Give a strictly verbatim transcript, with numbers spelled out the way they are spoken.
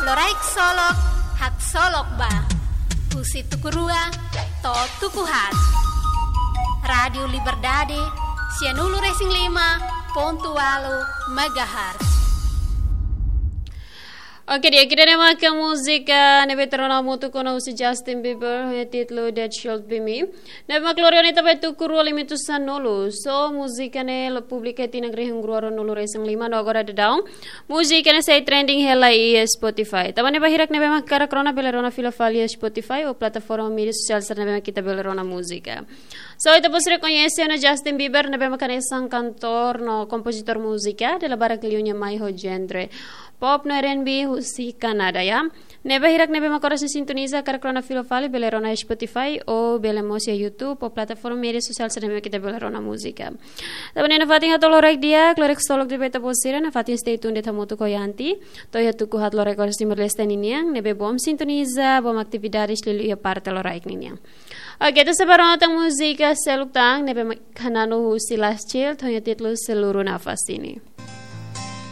Loraik Solok, Haksolok Ba. Husi tuku rua to'o tuku haat. Rádiu Liberdade, sianulu-resin-lima pontu ualu megahertz. Oke, di'ak, ida-ne'e maka múzika ne'ebé tuur ona hamutuk ona husi Justin Bieber, ho títulu That Should Be Me. Ne'ebé mak lori ona iha tuku rua limitu sanulu. So, múzika ne'e publika iha tinan rihun rua ruanulu-resin-lima no agora daudaun múzika ne'e sei trending hela iha Spotify. Tanba ne'e ba hirak ne'ebé mak hakarak rona bele rona fila fali iha Spotify ou plataforma média sosiál sira ne'ebé mak ita bele rona múzika. So, ita-boot sira koñese ona Justin Bieber ne'ebé mak hanesan kantór no kompozitór múzika, dala barak liu nia mai ho genre pop no R and B husi Kanadá, ya. Ne'ebé ba hirak ne'ebé mak oras ne'e sintoniza hakarak rona fila fali bele rona iha Spotify ou bele mós iha YouTube ou plataforma média sosiál sira ne'ebé mak ita bele rona múzika. Tanba ne'e nafatin hato'o loraik di'ak, loraik solok di'ak ba ita-boot sira, nafatin stay tuned de'it hamutuk ho Yanti. To'o iha tuku haat loraik oras timor-leste ninian, ne'ebé bom sintoniza, bom atividades liuliu iha parte loraik ninian. Oke, ita sei bá rona tan múzika seluk tan, ne'ebé mak hananu husi Last Child, ho títulu Seluruh Nafas Ini.